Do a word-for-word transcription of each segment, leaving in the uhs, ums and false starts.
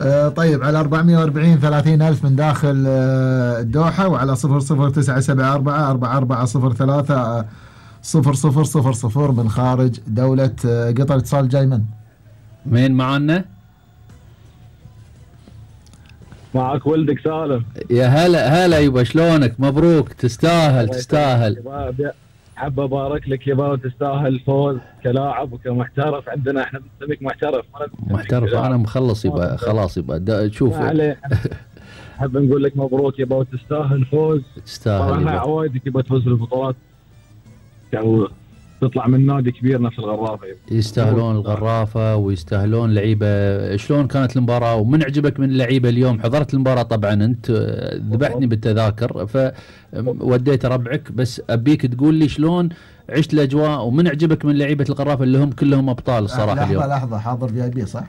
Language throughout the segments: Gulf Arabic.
آه طيب على أربعمية وأربعين ثلاثين ألف من داخل آه الدوحة، وعلى صفر صفر تسعة سبعة أربعة أربعة أربعة صفر ثلاثة آه صفر صفر صفر صفر من خارج دولة آه قطر. اتصال جاي من مين معنا؟ معك ولدك سالم. يا هلا هلا يبا، شلونك؟ مبروك، تستاهل تستاهل. حاب ابارك لك يبا، وتستاهل فوز كلاعب وكمحترف. عندنا احنا بنسميك محترف. محترف انا مخلص يبا، خلاص يبا شوف. حاب نقول لك مبروك يبا، وتستاهل فوز. تستاهل يبا، عوايدك يبا تفوز بالبطولات تطلع من نادي كبير نفس الغرافه. يستاهلون الغرافه ويستاهلون لعيبه. شلون كانت المباراه ومن عجبك من اللعيبه اليوم؟ حضرت المباراه طبعا انت، ذبحتني بالتذاكر فوديت ربعك، بس ابيك تقول لي شلون عشت الاجواء ومن عجبك من لعيبه الغرافه اللي هم كلهم ابطال الصراحه. لحظه اليوم لحظه حاضر في اي بي صح؟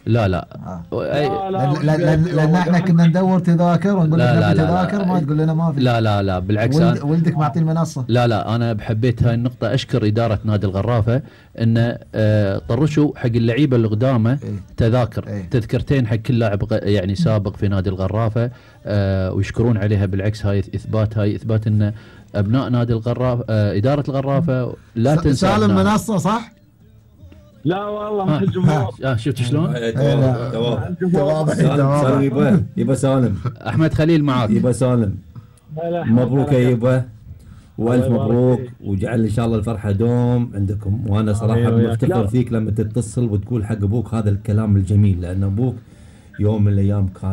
لا لا آه. أي... لا لان لان احنا كنا ندور تذاكر ونقول لك نبي تذاكر، ما تقول لنا ما في. لا لا لا بالعكس، ولد ولدك معطي المنصه. لا لا انا بحبيت هاي النقطه، اشكر اداره نادي الغرافه انه آه طرشوا حق اللعيبه اللي قدامه إيه؟ تذاكر إيه؟ تذكرتين حق كل لاعب يعني سابق في نادي الغرافه، آه ويشكرون عليها. بالعكس هاي اثبات، هاي اثبات ان ابناء نادي الغرافه آه اداره الغرافه لا تنسى. سالم منصه صح؟ لا والله ما الجمهور. اه شفت شلون؟ سالم يبا يبا سالم. احمد خليل معاك يبا سالم. مبروك يا يبا، والف مبروك، وجعل ان شاء الله الفرحه دوم عندكم. وانا صراحه مفتخر فيك لما تتصل وتقول حق ابوك هذا الكلام الجميل، لان ابوك يوم من الايام كان